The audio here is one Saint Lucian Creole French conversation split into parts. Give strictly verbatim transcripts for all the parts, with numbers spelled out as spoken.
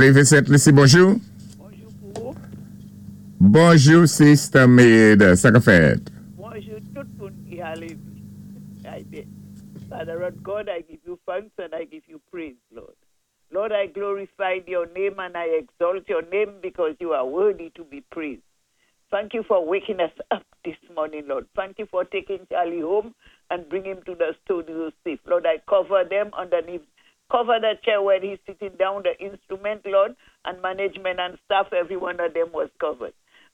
Lévé Sent-Lisi, bonjou. Bonjou pou ou. Bonjou, Sister Maid. Sa ka fèt? Bonjou tout moun ki a Lévi. I beg. Father Lord God, I give you thanks and I give you praise, Lord. Lord, I glorify your name and I exalt your name because you are worthy to be praised. Thank you for waking us up this morning, Lord. Thank you for taking Charlie home and bring him to the studio safe. Lord, I cover them underneath. Cover the chair where he's sitting down, the instrument, Lord, and management and staff, every one of them was covered.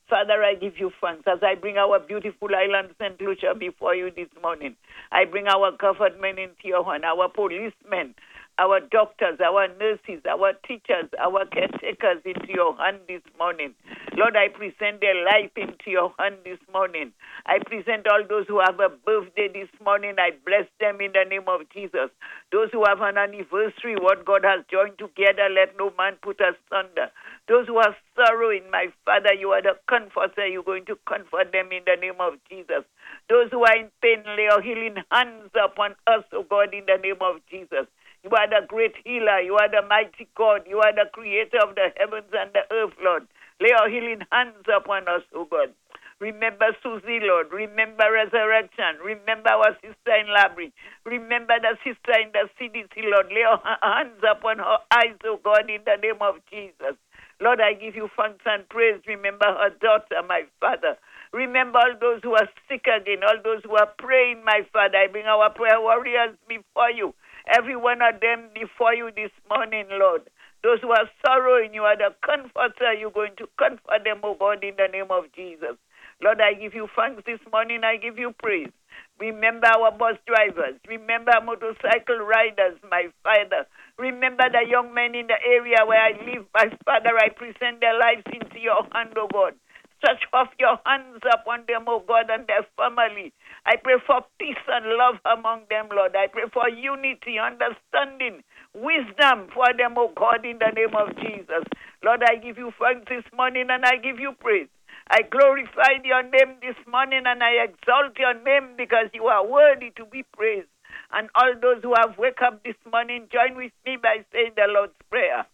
Father, I give you thanks as I bring our beautiful island, St. Lucia, before you this morning. I bring our government into your hand, our policemen, our doctors, our nurses, our teachers, our caretakers into your hand this morning. Lord, I present their life into your hand this morning. I present all those who have a birthday this morning. I bless them in the name of Jesus. Those who have an anniversary, what God has joined together, let no man put asunder. Those who are sorrowing, my Father, you are the comforter. You're going to comfort them in the name of Jesus. Those who are in pain, lay your healing hands upon us, O God, in the name of Jesus. You are the great healer. You are the mighty God. You are the creator of the heavens and the earth, Lord. Lay your healing hands upon us, O God. Remember Susie, Lord. Remember resurrection. Remember our sister in Labrie. Remember the sister in the CDC, Lord. Lay your hands upon her eyes, O God, in the name of Jesus. Lord, I give you thanks and praise. Remember her daughter, my Father. Remember all those who are sick again, all those who are praying, my Father. I bring our prayer warriors before you. Every one of them before you this morning, Lord. Those who are sorrowing, you are the comforter. You're going to comfort them, oh God, in the name of Jesus. Lord, I give you thanks this morning. I give you praise. Remember our bus drivers. Remember motorcycle riders, my Father. Remember the young men in the area where I live, my Father. I present their lives into your hand, oh God. Stretch off your hands upon them, oh God, and their family. I pray for peace and love among them, Lord. I pray for unity, understanding, wisdom for them, oh God, in the name of Jesus. Lord, I give you thanks this morning and I give you praise. I glorify your name this morning and I exalt your name because you are worthy to be praised. And all those who have wake up this morning, join with me by saying the Lord's Prayer.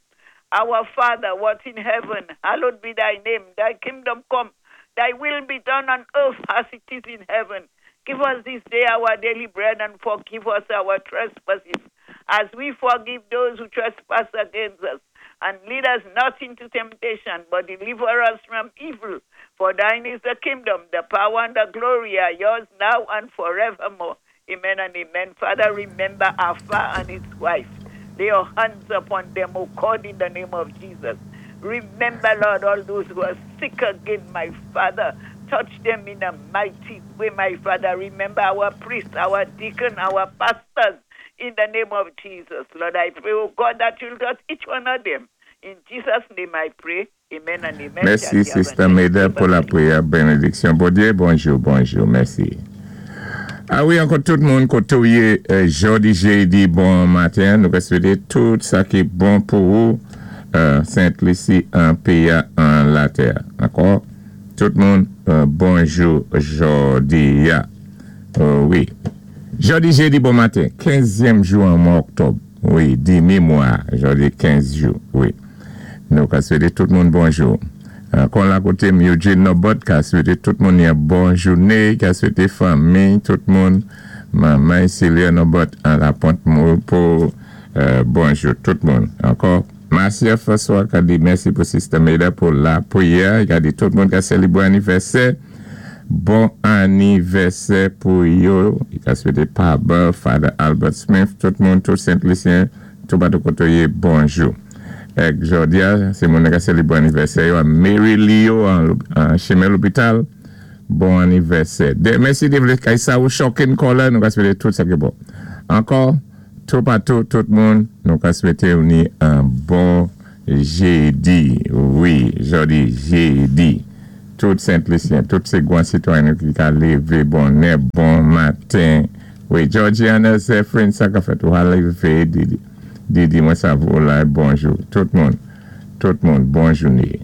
Our Father, what in heaven, hallowed be thy name. Thy kingdom come, thy will be done on earth as it is in heaven. Give us this day our daily bread and forgive us our trespasses, as we forgive those who trespass against us. And lead us not into temptation, but deliver us from evil. For thine is the kingdom, the power, and the glory are yours now and forevermore. Amen and amen. Father, remember Alpha and his wife. Lay your hands upon them, O God, in the name of Jesus. Remember, Lord, all those who are sick again, my Father. Touch them in a mighty way, my Father. Remember our priests, our deacon, our pastors, in the name of Jesus. Lord, I pray, oh God, that you'll touch each one of them. In Jesus' name I pray. Amen and amen. Mèsi, Sister Maida, pou lapwiyè. Bénédiksyon. Bonjou, bonjou, bonjou. Mèsi. A wi, ankò tout moun, koté ou yé, euh, jòdi, jédi, bon maten. Nou swété tout sa ki bon pou ou, euh, Sent-Lisi, an péyi an latè. Ankò, tout moun, euh, bonjou, jòdi, ya. Euh, wi. Jòdi, jédi, bon maten. Kenzyèm jou an mwa oktòb. Wi, dimi mwa, jòdi kenz jou, wi. Nou ka swété tout moun bonjou. Euh, kon la koté Eugene Nobot ka swété tout moun yon bon jouné, ka swété fanmi, tout moun, manman Celia Nobot an la Pont pou euh, bonjou tout moun. Ankò, Marcia François ka di mèsi pou Sister Maida pou lapwiyè, ka di tout moun ka sélébwé anivèsè. Bon anivèsè pou yo. Ka swété Papa, Father Albert Smith, tout moun, tout Sent-Lisyen, tout bato koté ou yé, bonjou. Èk jòdi a, sé moun ka sélébwé anivèsè yo, Mary Leo an, an chimen lopital, bon anivèsè. De, mèsi de vlé kay sa ou shocking caller, nou ka swété tout sa ki bon. Ankò, tout patou, tout moun, nou ka swété ou ni an bon jédi. Wi, jòdi jédi. Tout Sent-Lisyen, tout sé gwan sitwayen ki ka lévé bonè, bon maten. Wi, Georgiana Zephyrin, sa ka fèt ou a lévé, Didi. Didi, mwen sa vo la, bonjou. Tout moun, tout moun, bon jouné.